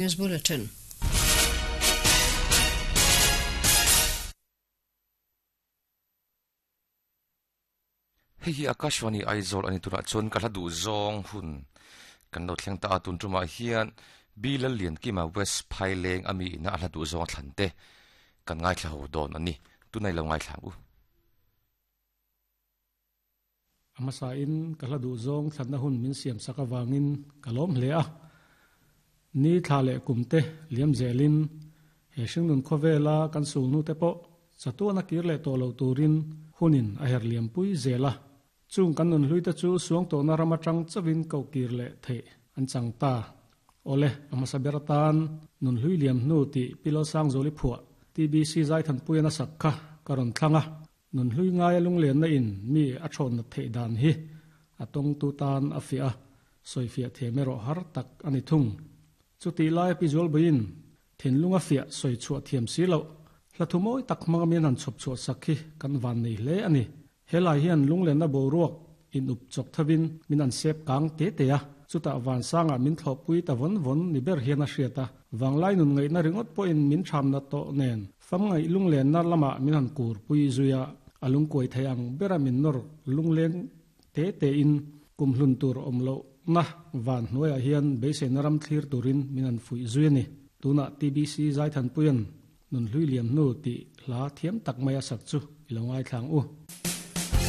News Bulletin. Hei hi Akashvani Aizawl a ni turah chuan ka hla duh zawng hun kan lo thleng ta a, tun tumah hian B Lalliankima West Phaileng a mi ina a hla duh zawng a thlan te kan ngaithla ho dawn a ni, tunah i lo ngaithla ang u. A hmasain ka hla duh zawng thlanna hun min siam sak avangin ka lawm hle a. Ni thla leh kum te liam zelin he hringnun khawvela kan sul hnu te pawh chatuan a kir leh tawh lo turin hunin a her liam pui zel a. Chung kan nun hlui te chu suang tawhna ram atang chauhin koh kir leh theih an chang ta. Awle, a hmasa ber atan nun hlui liam hnu tih Pilawt Sangzawli phuah TBC Zaithanpuian a sak kha ka rawn thlang a. Nun hlui ngaia lunglenna in mi a thawn nat theih dan hi a tawngtu tan a fiah a, sawifiah thiam erawh har tak a ni thung. Chutih laia Pi Zualbuiin thinlung a fiah sawi chhuah thiam si loh, hla thu mawi tak hmanga min han chhawp chhuah sak hi kan van nei hle a ni. Helai hian lunglenna boruak in up chawk thovin min an sep kang te te a, chutah vansangah min thlawhpui ta vawn vawn ni ber hian a hriat a, vanglai nun ngaihna ringawt pawhin min thamna tawh nen Famngaih lunglenna lamah min han kur pui zui a, a lungkuai thei ang bera min nawr lungleng te tein kum hlun tur awm lohna van hnuaiah hian beiseina ram thlir turin min han fuih zui a ni. Tunah TBC Zaithanpuia'n Nunhlui Liam Hnu tih hla thiam tak mai a sak chu i lo ngaithla ang u.